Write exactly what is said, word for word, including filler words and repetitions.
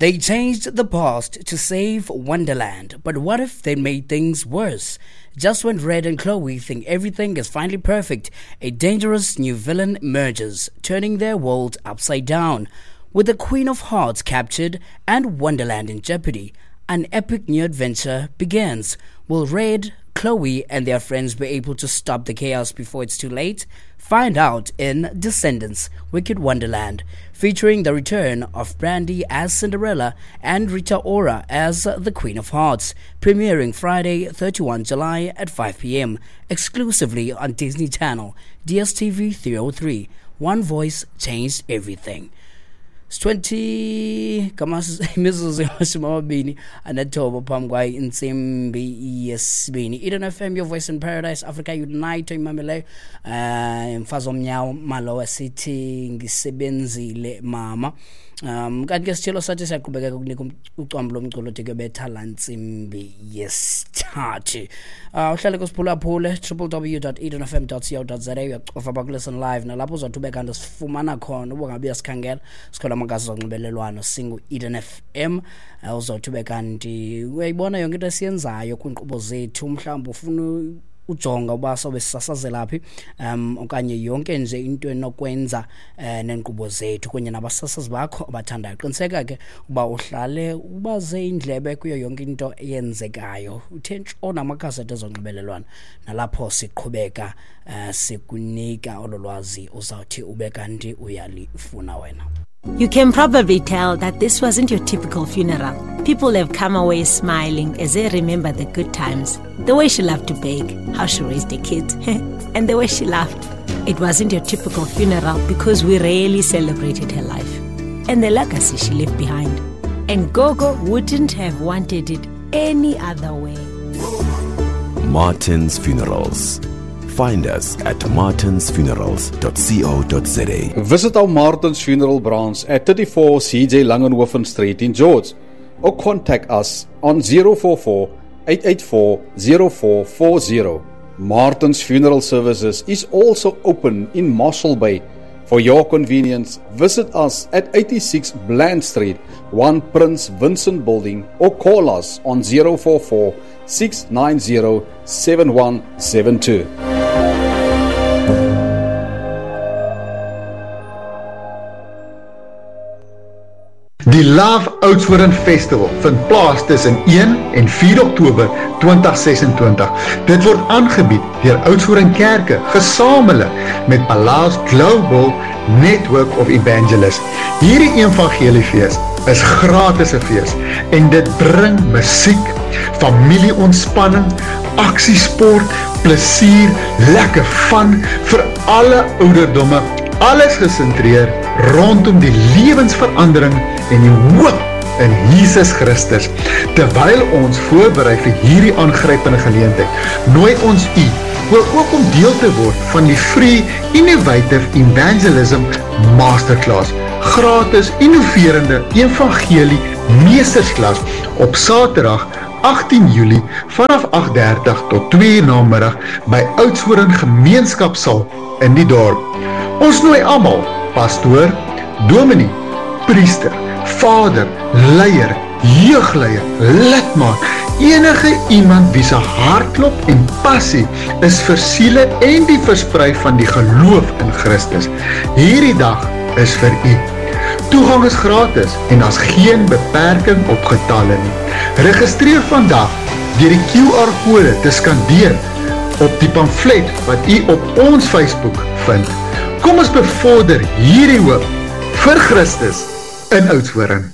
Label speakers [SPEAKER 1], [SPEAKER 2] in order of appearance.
[SPEAKER 1] They changed the past to save Wonderland, but what if they made things worse? Just when Red and Chloe think everything is finally perfect, a dangerous new villain emerges, turning their world upside down. With the Queen of Hearts captured and Wonderland in jeopardy, an epic new adventure begins. Will Red, Chloe, and their friends be able to stop the chaos before it's too late? Find out in Descendants, Wicked Wonderland, featuring the return of Brandy as Cinderella and Rita Ora as the Queen of Hearts, premiering Friday, thirty-first July at five p.m., exclusively on Disney Channel, D S T V three oh three. One voice changed everything. It's twenty imizuzu yamashumi amabini anethoba phambi kwayo intsimbi yesibini. Eden F M, your voice in paradise, Africa Unite oyimameleyo. Um mfazi omnyawo malowa sithi ngisebenzile mama. Um kanti ke sithelo sathi siyaqhubekeka ukunika ucwambu lomculo de betha la ntsimbi yesithathu. Uh uhlale kusiphulaphule w w w dot eden f m dot co dot za, uyacofa apha kulisten live nalapho uzothi ube kanti sifumana khona uba ngabe uyasikhangela sikhona amagazi zonxibelelwano singu Eden F M. Uh, uzothi ube kanti uyayibona yonke into esiyenzayo kwiinkqubo zethu, mhlawumbi ufuna ujonga uba sobe sisasazela phi um okanye yonke nje into enokwenza uh, neenkqubo zethu kunye nabasasazi bakho abathandayo. Qiniseka ke uba uhlale ubaze indlebe kuyo yonke into eyenzekayo, uthe ntshona amakhasi ezonxibelelwano nalapho siqhubeka uh, sikunika olo lwazi uzawuthi ube kanti uyalifuna wena.
[SPEAKER 2] You can probably tell that this wasn't your typical funeral. People have come away smiling as they remember the good times, the way she loved to bake, how she raised the kids, and the way she laughed. It wasn't your typical funeral because we really celebrated her life and the legacy she left behind. And Gogo wouldn't have wanted it any other way.
[SPEAKER 3] Martin's Funerals. Find us at martins funerals dot co dot za.
[SPEAKER 4] Visit our Martin's Funeral branch at thirty-four C J Langenhoven Street in George, or contact us on zero four four, eight eight four, zero four four zero. Martin's Funeral Services is also open in Mossel Bay. For your convenience, visit us at eighty-six Bland Street, one Prince Vincent Building, or call us on zero four four, six nine zero, seven one seven two.
[SPEAKER 5] Die Love Oudtshoorn Festival vind plaas tussen een en vier Oktober twintig ses-en-twintig. Dit word aangebied deur Oudtshoorn Kerke gesamentlik met Palace Global Network of Evangelists. Hierdie evangeliefees is gratis 'n fees en dit bring musiek, familieontspanning, aksiesport, plesier, lekker fun vir alle ouderdomme, alles gesentreer rondom die lewensverandering en die hoop in Jesus Christus. Terwyl ons voorberei vir hierdie aangrypende geleentheid, nooi ons u ook om deel te word van die Free Innovative Evangelism Masterclass, gratis innoverende evangelie meestersklas op Saterdag agttien Julie vanaf agt dertig tot twee uur namiddag by Oudtshoorn Gemeenskapsaal in die dorp. Ons nooi almal, pastoor, dominee, priester, vader, leier, jeugleier, lidmaat, enige iemand wie se hartklop en passie is vir siele en die versprei van die geloof in Christus. Hierdie dag is vir u. Toegang is gratis en daar's geen beperking op getalle nie. Registreer vandag deur die Q R-kode te skandeer op die pamflet wat u op ons Facebook vind. Kom ons bevorder hierdie hoop vir Christus in Oudtshoorn.